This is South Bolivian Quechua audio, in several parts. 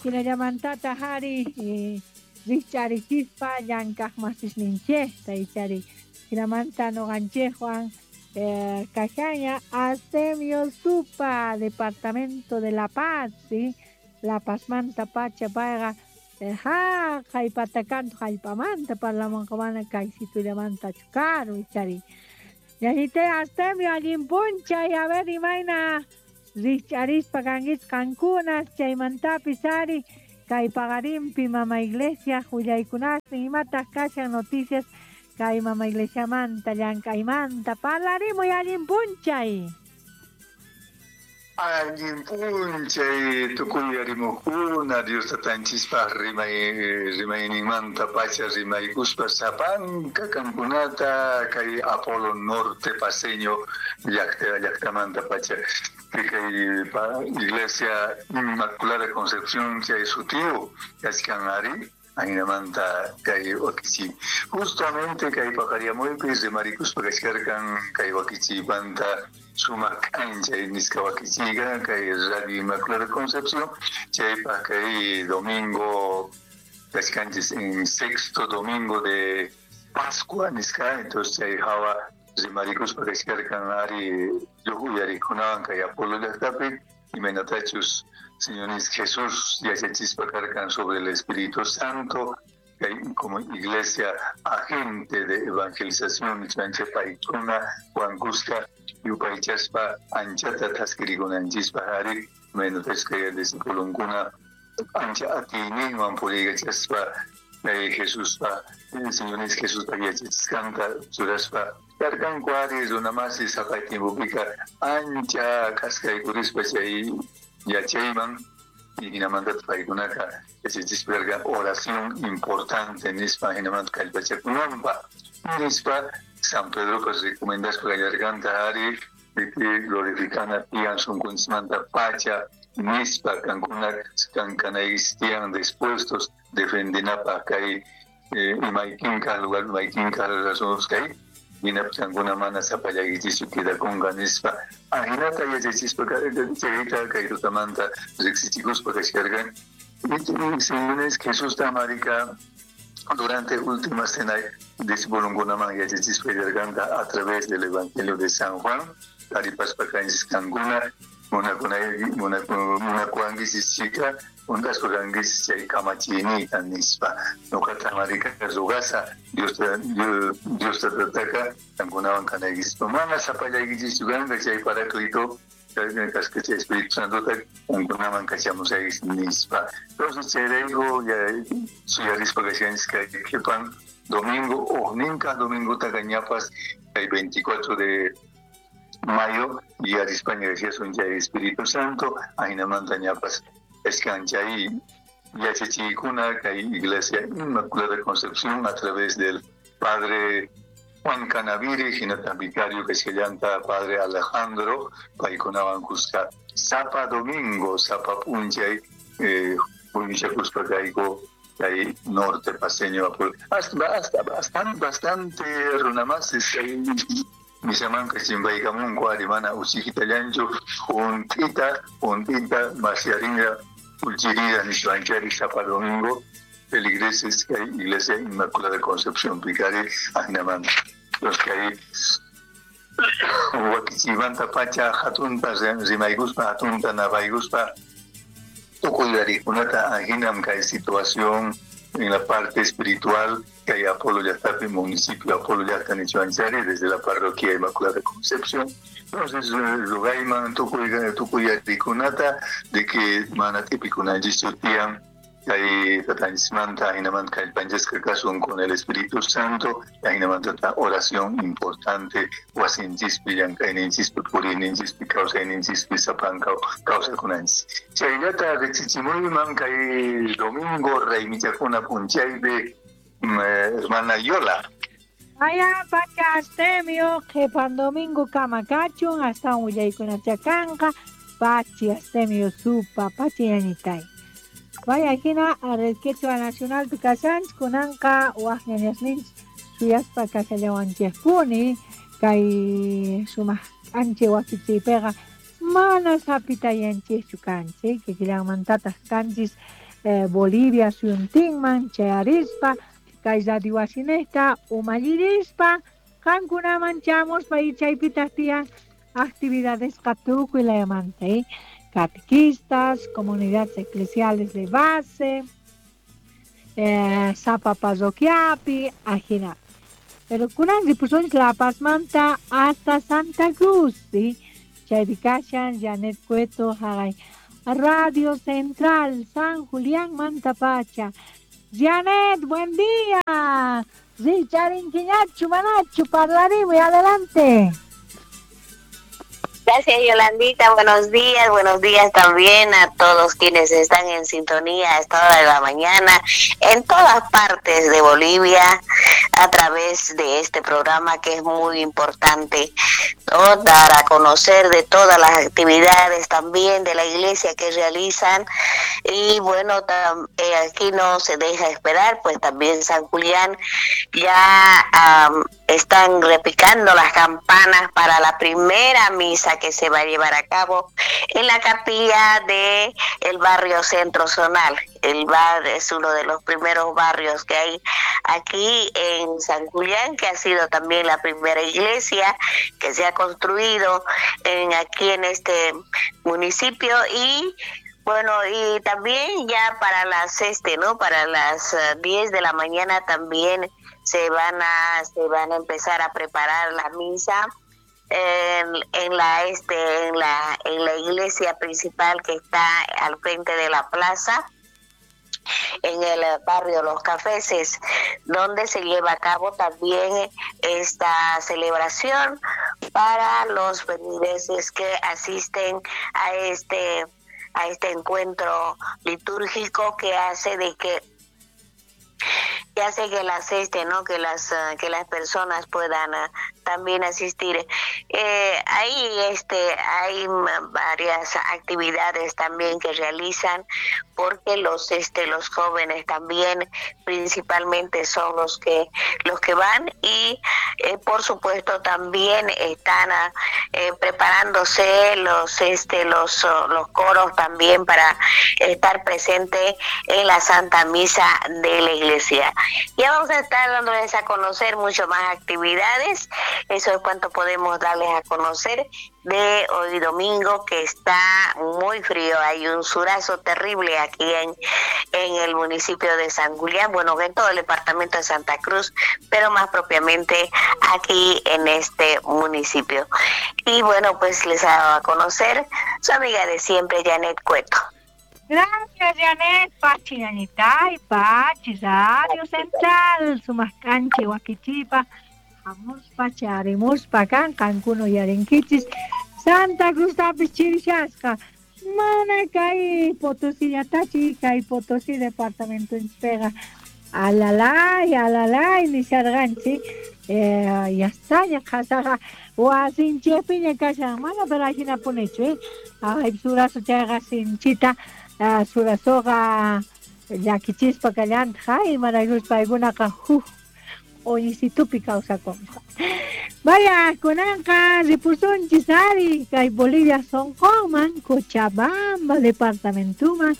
Jinallamantataq ari rikch'arichispa llank'aq masisninchejta ichari jinamanta noqanchejwan kashaña Astemio Supa, Departamento de La Paz, ¿sí? La Pazmanta pacha payqa jaqay patakantu jallp'amanta parlamunqa mana kaysitullamanta karu ichari. Ñañitay Astemio, allin p'unchay, a ver imayna rikch'arispa kankichis qankuna chaymantapis ari kay paqarinpi mama iglesia willaykunasnin imataq kashan noticias kay mama iglesiamanta llank'aymanta parlarimuy allin p'unchay. Allin p'unchay tukuy yarimuqkuna Dios tatanchispaq rimayninmanta pacha rimaykuspa sapanka kankunata kay Apolo Norte Paceño llaqtamanta pacha kay Iglesia Inmaculada Concepción chay sutiyu kachkan ari ajinamanta kay wakichiy justamente kay paqaryamuypi rimarikuspa kachkarkan kay wakichiymanta sumaq k'anchay nisqa wakichiyqa kay Radio Inmaculada Concepción chaypaq kay domingo kachkanchis en sexto domingo de Pascua nisqa entonces chay hawa rimarikuspa kachkarkan ari lluq uyarikunawan kay Apolo llaqtapi imaynatachus Señor Jesús yachachispa karkan sobre el Espíritu Santo kay como iglesia agente de evangelización nichwanchik paykuna wankusqa yupaychaspa anchata thaskirikunanchispaq ari imaynatachus kay discipulunkuna ancha atiyninwan puriykachaspa kay Jesuspa Señor Jesuspa yachachisqanta churaspa karkanku ari runamasi saqay tiempopika ancha k'askaykurispa chay yachayman jinamanta paykunaka yachachispa karkan oración importante nispa jinamanta kallpachakunanpaq nispa San Pedropas recomendaspa kallarkanta ari glorificana tiyan sunkunchismanta pacha nispa kankuna kankanaykichis tiyan dispuestos defendinapaq kay imaykinka lugar imaykinka razón kay hinapis kankuna mana sapallaykichischu quedakunqa nispa ajinata yachachispa chayta kay tutamanta riqsichikuspa kachkarkan Señores Jesusta marika durante última cena discipulunkunaman yachachispa kallarkanta a través del Evangelio de San Juan taripaspa kanchis kankuna munakuwankichis chika untaspa kankichis chay kamachiyniyta nispa nuqata marika rugasa Dios tataka kankunawan kanaykichispa mana sapallaykichischu kanqa chay Paráclito kasqa chay Espíritu Santota kankunaman kachamusaykichis nispa entonces chayrayku suyarispa kashanchis kay qhipan domingo uqninka domingota ñapas kay 24 de mayo yarispaña kashasun chay Espíritu Santo ajinamanta ñapas kachkan chay yachachiykuna kay Iglesia Inmaculada Concepción a través del Padre Juan Canaviri hinata vicario kachkallanta Padre Alejandro paykunawan kuska sapa domingo sapa p'unchay huñuchakuspa kayku kay norte paceño hasta bastante runamasis kay misamanka chimpaykamunku ari mana uchikitallanchu junt'ita masyarinqa uchirida nispanchari sapa domingo feligreses kay Iglesia Inmaculada Concepción pikari ajinamanta los kay wakichiymanta pacha hatunta rimaykuspa hatunta napaykuspa tukuy yarikunata ajinam kay situación en la parte espiritual kay Apolo llaqtapi municipio Apolo llaqta nichwanchari desde la parroquia Inmaculada Concepción. Entonces rugayman tukuy yarikunata de que mana tipikunanchis tiyan kay tatanchismanta ajinamanta kallpanchisqa kasun con el Espíritu Santo ajinamanta oración importante wasinchispi llank'ayninchispi puriyninchispi kawsayninchispi sapanka kawsakunanchis chayllata riqsichimuyman kay domingo raymichakuna p'unchaypi hermana Yola. Aya pacha Astemio qhipan domingo kama kachun astawan willaykunacha kanqa pachi Astemio Supa pachi ñañitay. Vaya hina Red Quechua Nacional kashanchik kunanqa waq ñañasninchik suyaspa kashallawanchikpuni kay sumaq k'anchay wakichiypiqa mana sapitayanchikchu kanchik kikillanmantataq kanchis Bolivia suyuntinman chayarispa kay radio wasinejta umallirispa qankunaman chamuspa y chaypitaq tiyan actividadesqa tukuy layamanta, catequistas, comunidades eclesiales de base, sapa parroquiapi, ajina. Pero kunan ripusunchis La Pazmanta hasta Santa Cruz, ¿sí? Chaypi kashan Janet Cueto jaqay Radio Central San Julián Mantapacha. Janet, buen día. Richarinquiñachu, manachu, parlarimuy, adelante. Gracias, Yolandita. Buenos días también a todos quienes están en sintonía a esta hora de la mañana en todas partes de Bolivia a través de este programa que es muy importante, ¿no? Dar a conocer de todas las actividades también de la iglesia que realizan y bueno, aquí no se deja esperar, pues también San Julián ya están repicando las campanas para la primera misa que se va a llevar a cabo en la capilla de el barrio Centro Zonal. El bar es uno de los primeros barrios que hay aquí en San Julián, que ha sido también la primera iglesia que se ha construido aquí en este municipio. Y bueno, y también ya para las para las 10 de la mañana también se van a empezar a preparar la misa en la iglesia principal que está al frente de la plaza, en el barrio Los Cafeses, donde se lleva a cabo también esta celebración para los feligreses que asisten a este encuentro litúrgico que hace de que que las personas puedan también asistir. Hay varias actividades también que realizan, porque los jóvenes también principalmente son los que van y por supuesto también están preparándose los coros también para estar presente en la Santa Misa de la iglesia. Ya vamos a estar dándoles a conocer mucho más actividades. Eso es cuanto podemos darles a conocer de hoy domingo, que está muy frío. Hay un surazo terrible aquí en el municipio de San Julián, bueno, en todo el departamento de Santa Cruz, pero más propiamente aquí en este municipio. Y bueno, pues les hago a conocer su amiga de siempre, Janet Cueto. Gracias, Janet. Pachi, Yanitay, Pachi, Radio Central, Sumascanche, Huaquichipa, Amuspa, Charimuspa, Can, Cancuno, Yarenquichis, Santa Cruz, Tapis, Chirishasca, Manacay, Potosí, Yatachi, Cay, Potosí, Departamento Inspega, Alalay, Alalay, Nisarganchi, ya está, ya casaga, Huasinchepiña, Casa, Mana, pero ahí ponecho, ay, surazo, chaga, sinchita, surazoga, llakichispa kallanta, imaraykuspa paykunaqa huk oñisitupi kawsakunqa. Vaya, kunanqa ripusunchis ari kay Bolivia sonqonman, Cochabamba departamentuman,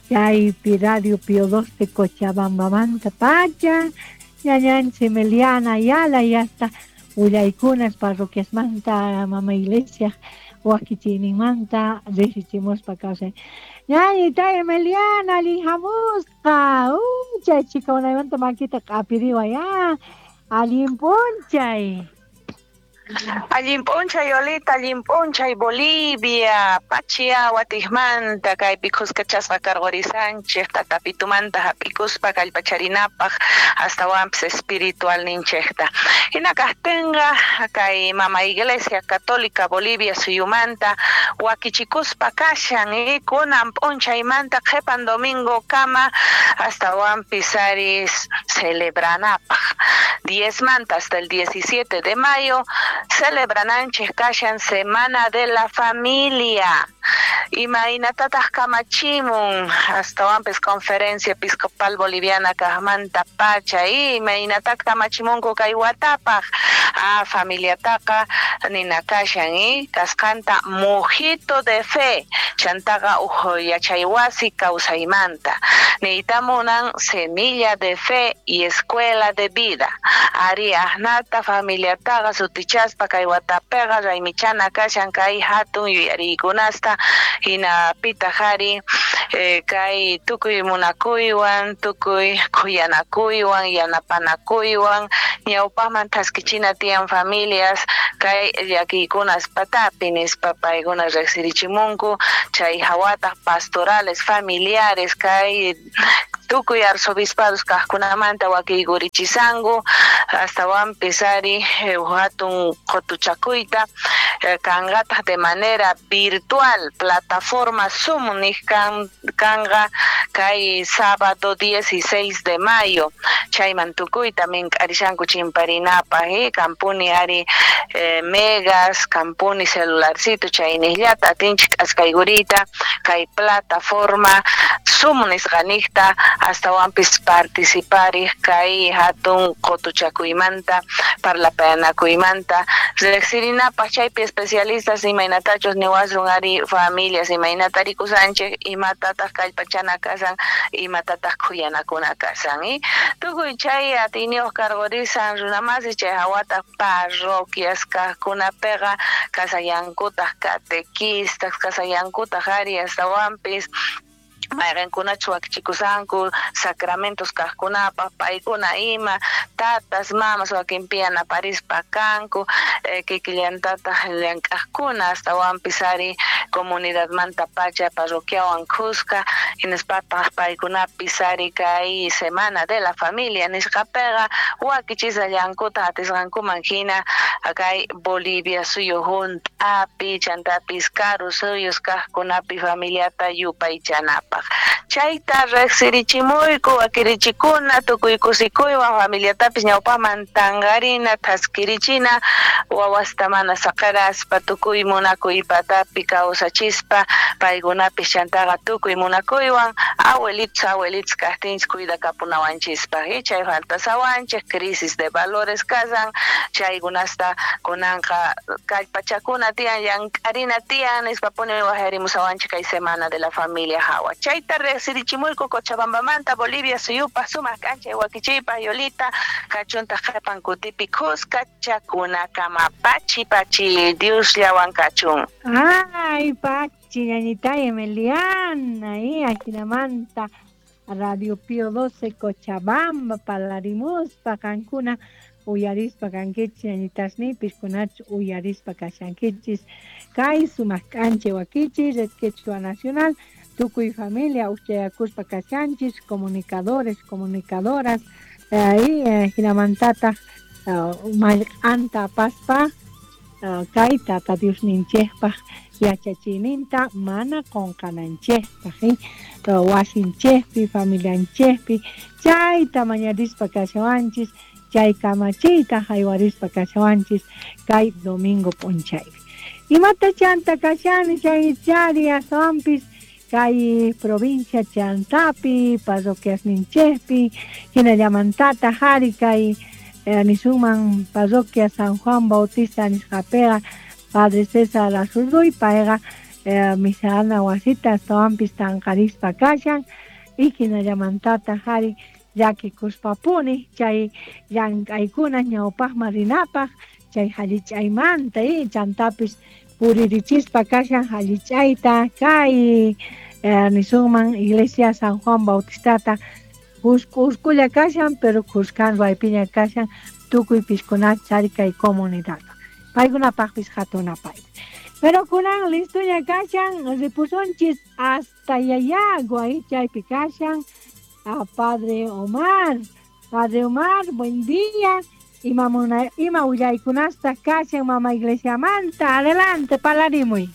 chaypi Radio Pío XII Cochabambamanta pacha, ñañanchik Meliana Ayala yasta willaykunas parroquiasmanta mama iglesia wakichiyninmanta riqsichimuspa kawsay. Ñañitay Meliana, allinhamusqa, chay chika unaymanta makita q'apiriway, allin p'unchay. Allin p'unchay Yolita, allin p'unchay Bolivia, Pachia watijmanta kaypi khuskachasqa karqurisanchej tatapitumanta hap'ikuspa kallpacharinapaq astawanpis espiritual ninchejta. Hina kajtinqa kay mama Iglesia Católica Bolivia suyumanta wakichikuspa kashan kunan p'unchaymanta qhipan domingo kama astawanpis ari celebranapaq. 10 manta hasta el 17 de mayo celebrananchej kashan Semana de la Familia. Imaynatataq kamachimun astawanpis Conferencia Episcopal Boliviana kaqmanta pacha imaynata kamachimunku kay watapaq familiataqa ninakashan kasqanta mojito de fe chantaqa uj yachaywasi kawsaymanta niytamunan semilla de fe y escuela de vida ari ajnata familiataqa sutichaspa kay watapiqa raymichana kashan kay hatun yuyariykunasta hinapitaq ari kay tukuy munakuywan tukuy khuyanakuywan yanapanakuywan ñawpaqman thaskichina tiyan familias kay llakiykunas patapi nispa paykuna riqsirichimunku chay hawataq pastorales familiares kay tukuy arzobispados kaqkunamanta wakiykurichisanku astawanpis ari hatun qutuchakuyta kanqataq de manera virtual plataforma Zoom niq kanqa kay sábado 16 de mayo chayman tukuyta mink'arishanku chimparinapaq kampuni ari megas kampuni celularcito chayniqllata atinchik k'askaykuriyta kay plataforma Zoom nisqaniqta astawanpis participariq kay hatun qutuchakuymanta parlapayanakuymanta riqsirinapaq chaypi especialistas imaynatachus niwasun ari familias imaynata rikusanchik imatataq kallpachana kasan imatataq khuyanakuna kasan tukuy chay atiyniyuq karqurisan runamasi chay hawataq parroquias kaqkunapiqa kasallankutaq catequistas kasallankutaq ari astawanpis mayqinkunachu wakichikusanku sacramentos kaqkunapaq paykuna ima tatas mamas wakinpi yanaparispa kanku kikillantataq llank'aqkuna astawanpis ari comunidadmanta pacha parroquiawan khuska hinaspataq paykunapis ari kay semana de la familia nisqapiqa wakichisallankuta atisqankuman hina kay Bolivia suyu hunt'api chantapis karu suyus kaqkunapi familiata yupaychanapaq chayta riqsirichimuyku wakirichikuna tukuy kusikuywan familiatapis ñawpaman tanqarina thaskirichina wawasta mana saqeraspa tukuy munakuy patapi kawsachispa paykunapis chantaqa tukuy munakuywan abuelitos abuelitos kaqtinchik cuidakapunawanchispaq chay faltasawanchik crisis de valores kasan chaykunasta kunanqa kallpachakuna tiyan llank'arina tiyan nispapuni wajarimusawanchik kay semana de la familia hawa chayta riqsirichimuyku Cochabambamanta Bolivia suyupaq sumaq k'anchay wakichiypaq Yolita kachuntaq qhipan kutipi khuska chakunakama pachi pachi Diosllawan kachun. Ay pachi ñañita Emeliana ajinamanta Radio Pío XII Cochabamba parlarimuspa qankuna uyarispa kankichis ñañitasnipis kunach uyarispa kashankichis kay sumaq k'anchay wakichiy Red Quechua Nacional tukuy familia uchayakuspa kashanchis comunicadores comunicadoras hinamantataq mallq'anta apaspa kay tata Diosninchikpaq yachachiyninta mana qunqananchikpaq wasinchikpi familianchikpi chayta mañarispa kashawanchis chay kamachiyta haywarispa kashawanchis kay domingo p'unchaypi imata chanta kashani chay chari astawanpis kay provincia chantapi parroquiasninchikpi hinallamantataq ari kay nisunman parroquia San Juan Bautista nisqapiqa Padre César Azurduy payqa misana wasita astawanpis tanqarispa kashan y hinallamantataq ari llakikuspapuni chay llank'aykuna ñawpaqman rinapaq chay hallich'aymanta chantapis puririchispa kashan hallich'ayta kay nisunman iglesia San Juan Bautistata uskulla kashan pero khuskan ruwaypiña kashan tukuy piskunach ari kay comunidad paykunapaqpis hatunapaypi pero kunan listoña kashan ripusunchis hasta Llallagua chaypi kashan a Padre Omar. Padre Omar, buen día. Ima willaykunasta kashan mama iglesiamanta. Adelante, palarimuy.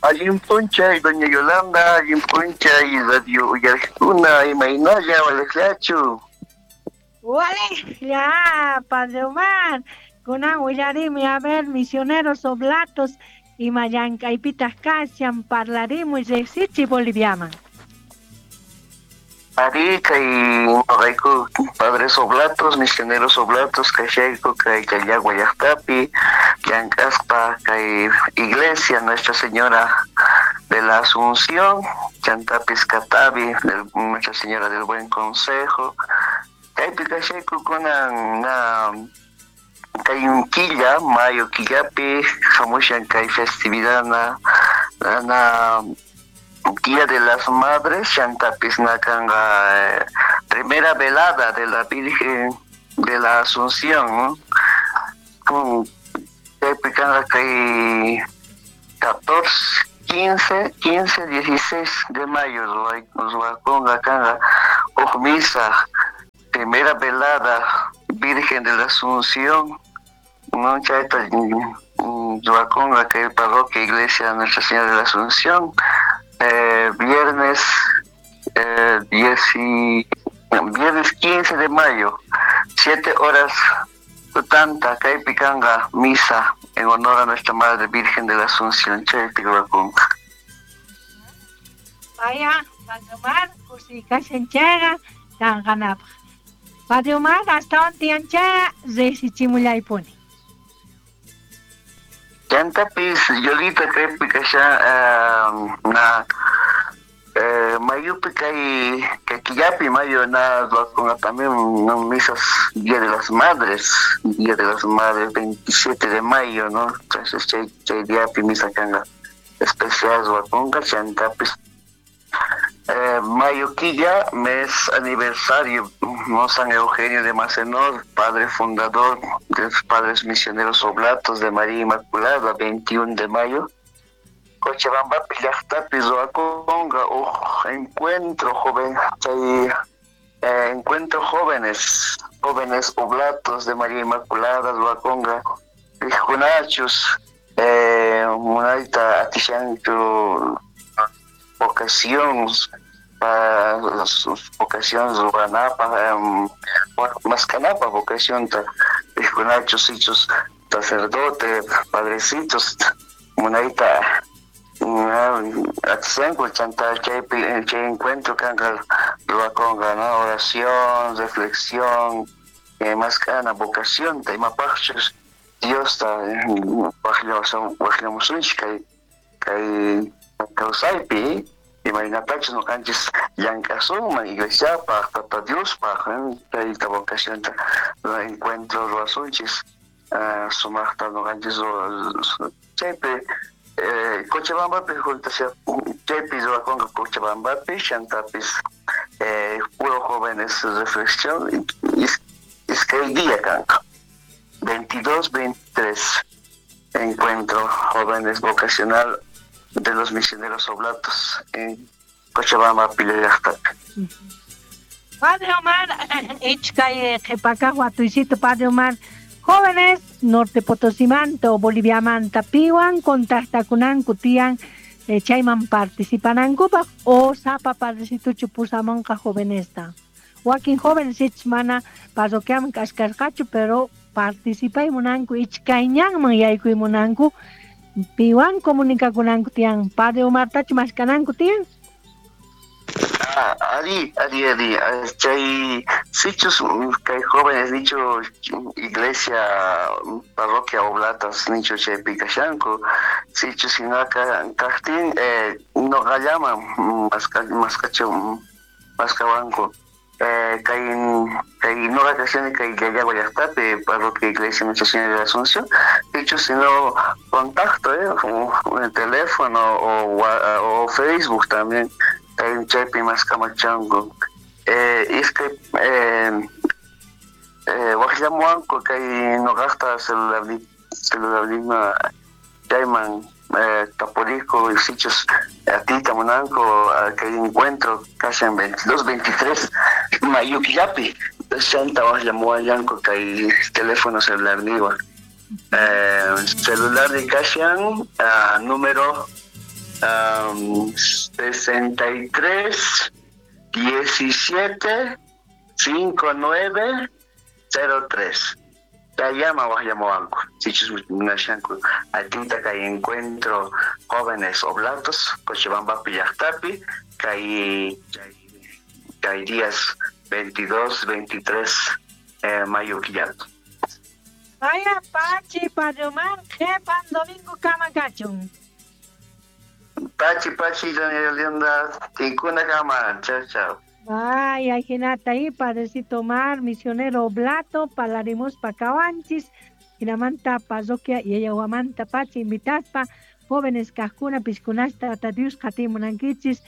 Allin p'unchay, doña Yolanda, allin p'unchay, radio uyariqkuna, imaynalla, walejllachu. Walejlla, Padre Omar. Kunan willarimi, a ver, misioneros oblatos, Ima llank'aypitaq kashan parlarimuy riqsichi Boliviaman. Ari kay noqayku padres oblatos, misioneros oblatos kashayku kay Llallagua llaqtapi llank'aspa kay iglesia Nuestra Señora de la Asunción, chantapis Catavi, Nuestra Señora del Buen Consejo. Kaypi kashayku kunan na kay killa, mayo killapi, hamushan kay festividad na Día de las Madres, chantapis nakanga primera velada de la Virgen de la Asunción, ¿no? Con kay 14, 15, 16 de mayo, ruwakunqa kanqa huk misa, primera velada Virgen de la Asunción, ¿no? Chayta ruwakunqa kay parroquia Iglesia Nuestra Señora de la Asunción. Viernes viernes 15 de mayo, 7 horas tanta, kaypi kanqa misa en honor a nuestra Madre Virgen de la Asunción, chaypi ruwakunqa. Vaya, Padre Omar, kusikashan chayqa kanqanapaq. Padre Omar, astawan tiyan chayqa riqsichimullaypuni. Chantapis Yolita kaypi kashan na mayupi kay killapi mayo na ruwakunqa también no misas Día de las Madres, Día de las Madres 27 de mayo, ¿no? Entonces chay diapi misa kanqa especial ruwakunqa chantapis mayo quilla, mes aniversario, ¿no? San Eugenio de Mazenod, padre fundador de los Padres Misioneros Oblatos de María Inmaculada, 21 de mayo. Cochabambapi llaqtapi ruwakunqa huk encuentro joven, chay encuentro jóvenes oblatos de María Inmaculada ruwakunqa riqkunachus munayta atishanku vocación vocación ruwanapaq maskanapaq vocacionta riqkunachus sichus sacerdote padrecitos munayta atishanku chanta chaypi chay encuentro kanqa ruwakunqa, ¿no? Oración, reflexión, maskana vocacionta imapaqchus Diosta waqllamusunchik kay kawsaypi imaynatachus noqanchis llank'asunman iglesiapaq, Tata Diospaq, chayta vocacionta encuentro ruwasunchis sumaqta noqanchis chaypi Cochabambapi juntasha chaypi ruwakunqa Cochabambapi chantapis puro jóvenes reflexión iskay día kanqa 22, 23 encuentro jóvenes vocacional de los misioneros oblatos en Cochabamba llaqtapi. Padre Omar, ichkay qhipakaq watuysito Padre Omar, jóvenes Norte Potosimanta o Boliviamanta piwan contactakunanku tiyan chayman participanankupaq o sapa padrecituchu pusamunqa jovenesta. Wakin jóvenes ich mana parroquiaman kashkarqachu pero participay munanku ichkayñanman yaykuy munanku piwan comunicakunanku tiyan Padre Omartachu maskananku tiyan. Ari, chay sichus kay jóvenes nicho iglesia parroquia oblatas nicho chaypi kashanku sichus hinaka kaqtin noqallaman maskawanku kay noqa kashani kay Llallagua llaqtapi parroquia iglesia Nuestra Señora de la Asunción dicho sino contacto el teléfono o Facebook también chaypi maskamachanku iskay waqllamuwanku kay noqaqta celularniyma chayman tapuriku sichus atiyta munanku kay encuentro kashan 22, 23 mayo killapi chanta waqllamuwanllanku kay teléfono celularniywan celular de kashan número 63 17 59 03. Chayllama waqllamuwanku sichus munashanku atiyta kay encuentro jóvenes oblatos Cochabambapi llaqtapi kay kay días 22, 23 mayo killapi. Vaya Pachi, Padre Omar, qhepan domingo kama kachun. Pachi, Pachi, doña Yolanda, tinkuna kama, chao, chao. Vaya, jinata ahí, Padrecito Omar, misionero oblato, palarimus pakawanchis, jinamanta parroquia y ella huamanta pachi, invitaspa, jóvenes kajkuna, piskunasta, tata Dios, qatimunankichis,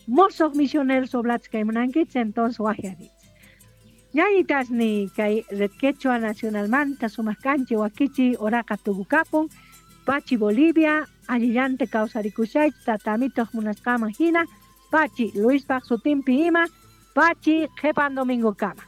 mozos misioneros oblatos kaymunankichis, entonces wajiarich. Ñañitas ni kay Red Quechua Nacional Manta, sumaq kanchi, wakichi, oraqa tukukapun, Pachi Bolivia, allillante kawsarikushaychik, tatamitoq munasqaman hina, Pachi, Luis Sutimpi ima, Pachi, qhepan domingo kama.